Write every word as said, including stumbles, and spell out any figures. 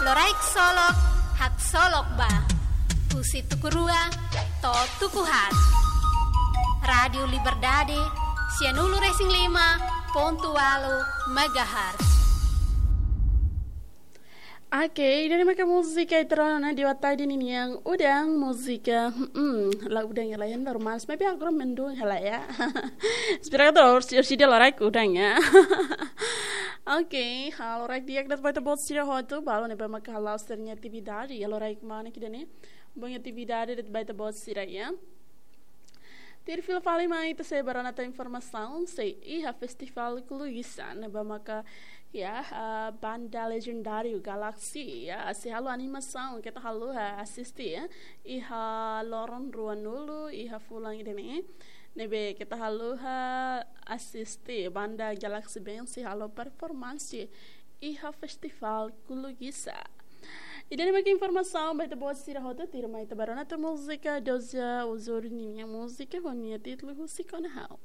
Loraik Solok, Haksolok Ba. Husi tuku rua to'o tuku haat. Rádiu Liberdade, sianulu-resin-lima pontu ualu megahertz. Oke, ida-ne'e maka múzika ita rona ona iha tarde ninian udan, múzika, hmm, la udan hela ya, normal, maibé agora mendung hela ya. Espera ke terus, si dia loraik udan ya. Oke, halo loraik di'ak ba ita-boot sira hotu, balu ne'ebé maka hala'o sira-nia atividade, halo loraik maun ida-ne'e, bom atividade ba ita-boot sira ya. Tuir fila fali mai ita sei bá rona tan informasaun sei iha festivál Kuluisa ne'ebé maka ya, ah, banda legendáriu Galaxy ya sei halo animasaun, keta haluha asiste ya, iha loron ruanulu iha fulan ida-ne'e, ne'ebé keta haluha asiste banda Galaxy Band sei halo performansi iha festivál Kuluisa. Ida-ne'e maka informasaun ba ita-boot sira hotu, tuirmai ita bá rona tan múzika, Doja Uzuri ninia múzika ho nia títulu Husik ona Ha'u.